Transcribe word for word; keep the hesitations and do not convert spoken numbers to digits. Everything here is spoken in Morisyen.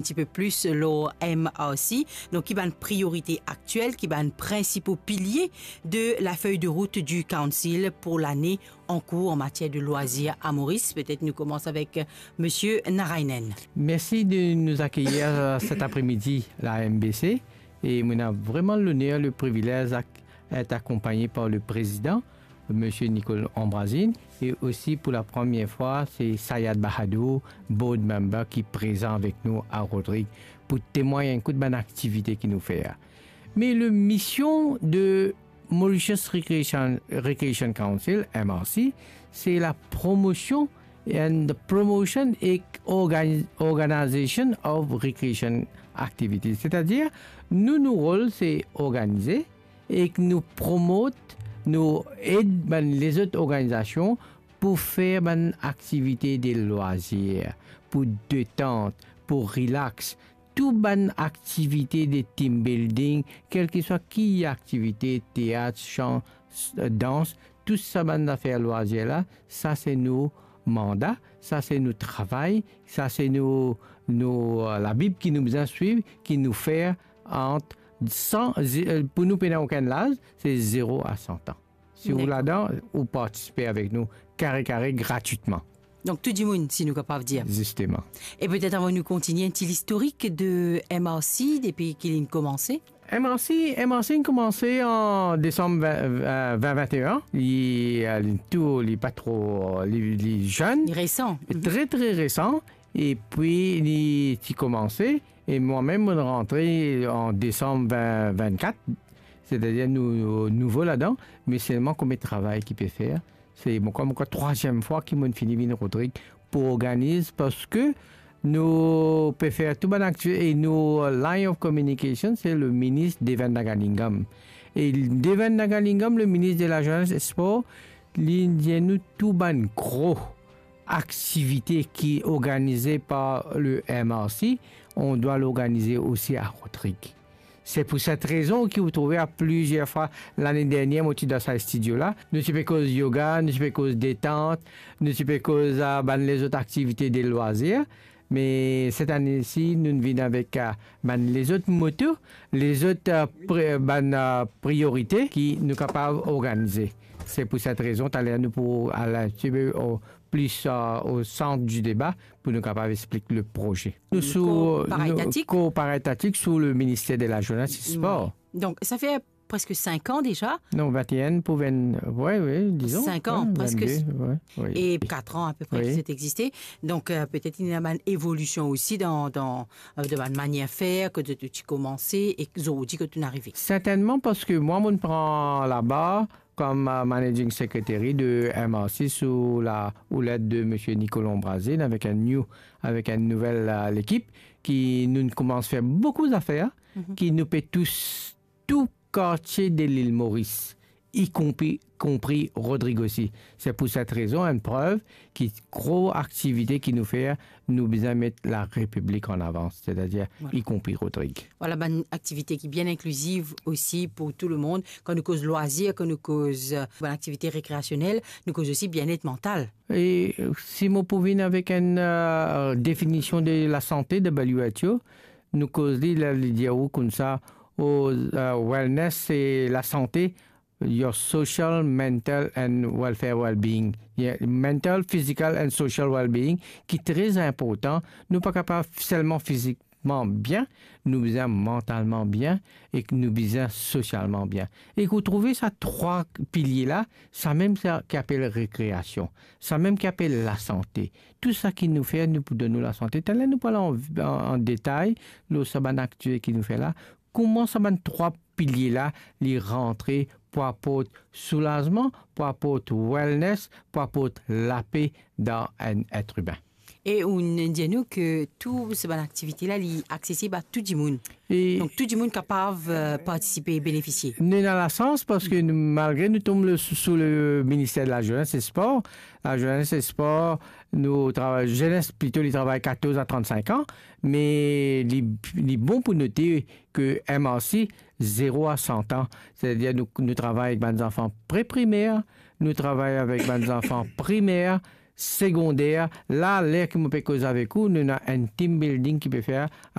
Un petit peu plus lor M R C, donk ki bann priorite aktiel, ki bann prinsipo pilie de la feuille de route du Council pour lane an kour an matier de lwazir a Moris. Petet nou koumans avek Monsieur Narainen. Merci de nous accueillir, euh, cet après-midi, la M B C. Et on a vraiment l'honneur, le privilège d'être accompagné par le président, Monsieur Nicole Ambrazine. Et aussi, pour la première fois, c'est Sayed Bahadour, board member, qui est présent avec nous à Rodrigues pour témoigner un coup de bonne activité qu'il nous fait. Mais le mission de Mauritius Recreation, Recreation Council, M R C, c'est la promotion and the promotion et organi-, organization of recreation activities. C'est-à-dire, nou, nou rol, se organize ek nou promot, nou ed bann lezot organizasion pou fer bann aktivite de lwazir, pou detant, pou relax, tou bann aktivite de team building, kelseswa ki aktivite, teat, san, s-, dans, tou sa bann zafer lwazir la, sa se nou manda, sa se nou travay, sa se nou, nou, euh, Labib ki nou bizin swiv, ki nou fer ant san, ze-, euh, pou nou pena okenn laz, se zero a san an. Si ou Dakor. Ladan, ou partisipe avek nou kare kare gratitman. Donk tou dimoun, si nou kapav dir. Zisteman. E petet avan nou kontinie, enn ti listorik de M R C depi ki li'nn koumanse? M R C, M R C inn koumanse an desam vin, vin, vin vin e enn. Li, euh, li tou, li pa tro, li, li zenn. Li resan. Li tre, tre resan. Epi li ti koumanse, e mwa mem, mo'nn rantre an desam vin vin kat, setadir nou, nou nouvo ladan, me selman konbien travay ki pe fer. Se, bon, kouma trwaziem fwa ki mo'nn fini vinn Rodrig pou organiz, parski nou pe fer tou bann akti-, e nou line of communication, se le minis Devan Nagalingam. E Devan Nagalingam, le minis de la Jeunesse et Sport, li dir nou tou bann gro aktivite ki organize par le M R C, on dwa l'organize osi a Rodrig. Se pou set rezon ki ou trouve a plizier fwa lane dernier, mo ti dan sa stidio la, nou ti pe koz yoga, nou ti pe koz detant, nou ti pe koz, ah, bann lezot aktivite de lwazir. Me set ane si, nou vinn avek, ah, bann lezot moto, lezot, ah, pri-, bann, ah, priorite ki nou kapav organize. Se pou set rezon, taler nou pou al tipe o plis, ah, o sant di deba pou nou kapav explik le proze. Nou sou, nou, kor paretatik sou le Minister de la Jeunesse et Sport. Wi. Donk, sa fer preske sink an deza. Non, vin e enn pou vin, wi, wi, dizon. Sink an, wi, preske. Vin de, wi, wi. E kat an apepre ki zot existe. Donk, euh, petet ena bann evolision osi dan, dan, euh, dan bann manier fer, kot zot ti koumanse e zordi kot nou arive. Sertennman, parski mwa, mo'nn pran labar kom, euh, Managing Secretary de M R C sou la oulet de Monsieur Nicolas Ambrazine avek enn new, avek enn nouvel, euh, lekip ki nou koumans fer boukou zafer, ki nou pe tous tou kartie de lil Moris, i konpri, konpri Rodrig osi. Se pou set rezon, enn prev ki gro aktivite ki nou fer, nou bizin met Larepiblik an avans, setadir, i konpri Rodrig. Vwala, bann aktivite ki bien inkliziv osi pou tou lemonn. Kan nou koz lwazir, kan nou koz, euh, bann aktivite rekreasionel, nou koz osi bienet mantal. E, euh, si mo pou vinn avek enn, euh, definision de lasante de W H O, nou koz li, la, li dir ou koumsa, o, euh, wellness, se lasante, your social, mental and welfare well-being. Yeah, mental, physical and social well-being, ki tre inportan. Nou pa kapav selman fizikman bien, nou bizin mantalman bien ek nou bizin sosialman bien. E ou trouve sa trwa pilie la, sa mem sa ki apel rekreasion, sa mem ki apel lasante. Tou sa ki nou fer, nou pou donn nou lasante. Taler nou pou al an, an, an detay lor sa bann aktivite ki nou fer la, kouma sa bann trwa pilie la, li rantre pou aport soulazman, pou aport wellness, pou aport lape dan enn et imin. E ou dir nou ke tou sa bann aktivite la, li aksesib a tou dimoun. E donk, tou dimoun kapav, euh, partisipe e benefisie. Nou ena lasans parski nou, malgre nou tom le, sou, sou le Minister de la Jeunesse et Sport, la Jeunesse et Sport, nou travay, zenes plito, li travay katorz a trannsink an, me li, li bon pou note ke M R C, zero a san an, setadir nou, nou travay avek bann zanfan pre-primer, nou travay avek bann zanfan primer, segonder, la, ler ki mo pe koz avek ou, nou ena enn team building ki pe fer